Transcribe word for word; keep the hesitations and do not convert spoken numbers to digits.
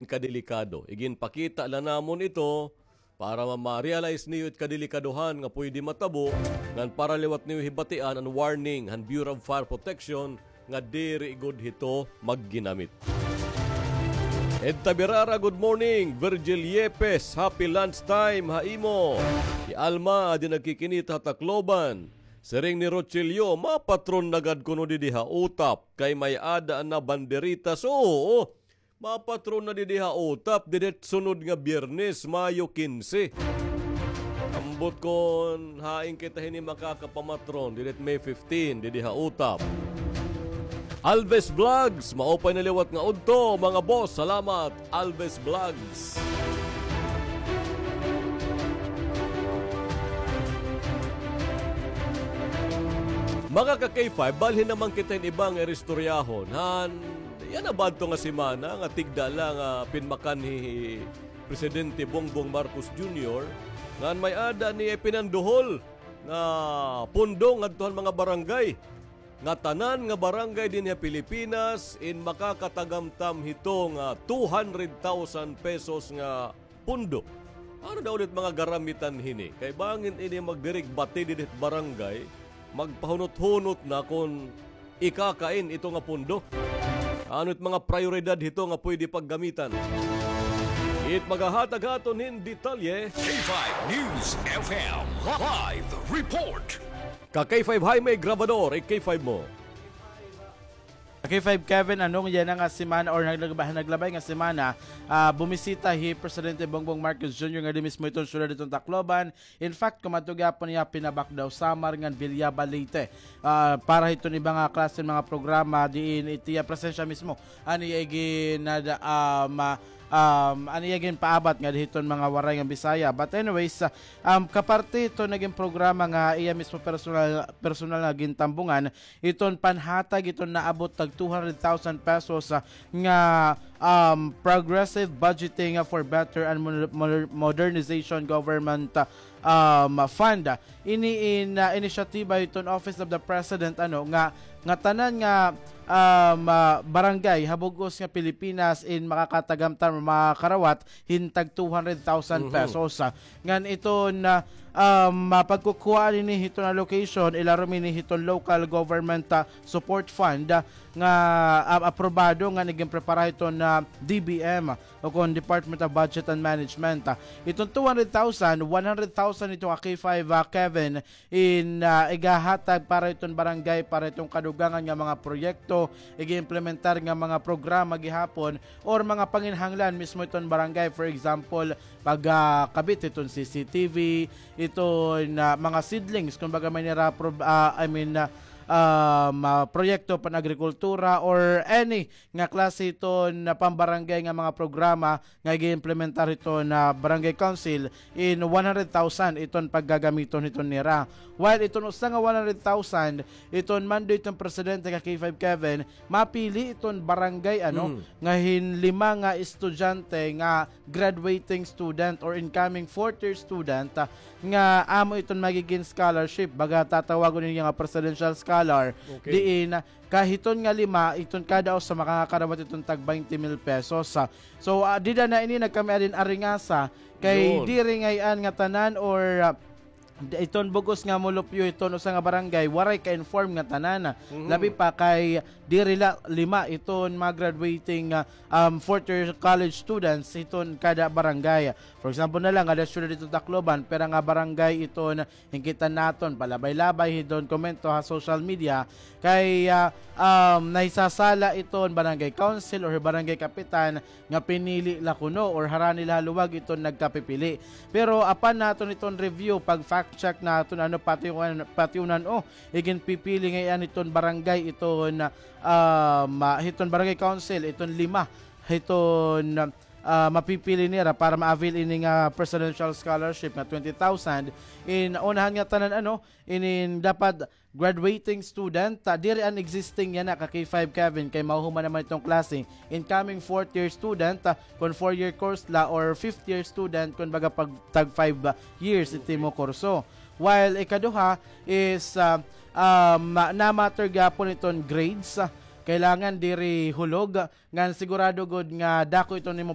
kadelikado. Iginpakita la namon ito para ma-, ma-realize niyo it kadelikadohan nga pwede matabo, ngan para liwat niyo hibatian an warning han Bureau of Fire Protection nga diri gud hito magginamit. Edta Birara, good morning. Virgil Yepes, happy lunch time ha imo. Hi Alma, adi nagkikinita ha Tacloban. Siring ni Rochilio, mapatron na gad kuno didi ha Utap, kay may-ada na banderitas. Oo, mapatron na didi ha Utap, didi sunod nga Biyernes, Mayo kinse. Ambot kon hain kita hini makakapamatron, didi May fifteen, didi ha Utap. Alves Vlogs, maupay na liwat nga udto, mga boss. Salamat, Alves Vlogs. Mga ka-K five, balhin naman kita hin iba nga iristoryahon. Han, yana ba adto nga semana nga tigda la nga pinmakanhi hi Presidente Bongbong Marcos Junior, ngan may-ada niya ipinanduhol nga pondo ngadto han mga barangay, nga tanan nga barangay dinhi ha Pilipinas in makakatagamtam hito nga two hundred thousand pesos nga pondo. Ano daw ulit mga garamitan hini? Kay bangin ini magdirigbati didit barangay, magpahunot-hunot na kon ikakain ito nga pondo. Ano it mga prayoridad hito nga pwede paggamitan? It magahatag haton hin detalye. K five News F M live report. Ka K five Jaime Grabador, i-K five mo. K five Kevin, ano, yana nga semana or naglaba-, naglabay nga semana, ah, bumisita hi Presidente Bongbong Marcos Junior ngadi mismo hiton syudad hiton Tacloban. In fact, kumadto gihapon hiya ha Pinabacdao, Samar ngan Villaba, Leyte. Ah, para hiton iba nga klase nga mga programa diin it iya presensya mismo an iya iginada-, um, ah, um, an iya ginpaabat ngadi hiton mga Waray nga Bisaya. But anyways, ah, um, kaparte hiton nagin programa nga iya mismo personal, personal nga gintambungan, iton panhatag iton naabot tag two hundred thousand pesos, ah, nga, um, progressive budgeting, ah, for better and mo-, mo-, modernization government, ah, um, fund. Ini in, ah, inisyatiba iton Office of the President, ano, nga, nga tanan nga, um, ah, barangay ha bug-os nga Pilipinas in makakatagamtam, makakarawat hin tag two hundred thousand pesos, ah. Ngan iton, ah, um, ah, pagkukuhaan ini hiton allocation, ilarom ini hiton local government, ah, support fund, ah, nga, ah, aprobado ngan iginprepara hiton, ah, D B M, o kon Department of Budget and Management. Ah, iton two hundred thousand, one hundred thousand ito ka K five, ah, Kevin, in, ah, igahatag para iton barangay, para iton kadugangan nga mga proyekto, igiimplementar nga mga programa gihapon, or mga panginahanglan mismo iton barangay. For example, pagkabit iton C C T V, iton, ah, mga seedlings, kumbaga may nira pro-, ah, I mean, ah, um, ah, proyekto pan-agrikultura or any nga klase iton, ah, pambarangay nga mga programa nga igiimplementar hiton, ah, barangay council in one hundred thousand iton paggagamiton hiton nira. While iton usa nga one hundred thousand, iton mando hiton presidente ka K five Kevin, mapili iton barangay, ano, nga hin lima nga estudyante nga graduating student or incoming fourth year student, ah, nga amo iton magigin scholarship, baga tatawagon niya nga presidential scholar, diin, ah, ka hiton nga lima, iton kada usa makakarawat iton tag twenty mil pesos, ah. So, ah, dida na ini nagkami-ada hin aringasa, kay diri ngay-an nga tanan or, ah, d-, iton bug-os nga molupyo hiton usa nga barangay, waray ka-inform nga tanan. Labi pa kay diri la lima iton mga graduating, ah, um, fourth year college students hiton kada barangay. For example na la, ngada syudad hiton Tacloban, pira nga barangay iton hinkita naton, palabay-labay hiton komento ha social media, kay, ah, um, nahisasala iton barangay council or barangay kapitan nga pinili la kuno or harani la ha luwag iton nagkapipili. Pero apan naton iton review, pag-fact check naton, ano, pati-, patiunan, o, iginpipili ngay-an iton barangay iton, um, ah, hiton barangay council, iton lima, hiton, ah, mapipili nira para ma-avail ini nga presidential scholarship nga twenty thousand. In unahan nga tanan, ano, inin dapat graduating student, ah, diri an existing yana ka K five Kevin, kay mahuhuman naman iton klase. Incoming fourth year student, ah, kon four year course la, or fifth year student, kon baga pag tag five, ah, years it imo kurso. While ikaduha is, ah, um, na-, na-matter gihapon iton grades, ah, Kailangan diri hulog, ngan sigurado gud nga dako ito nimo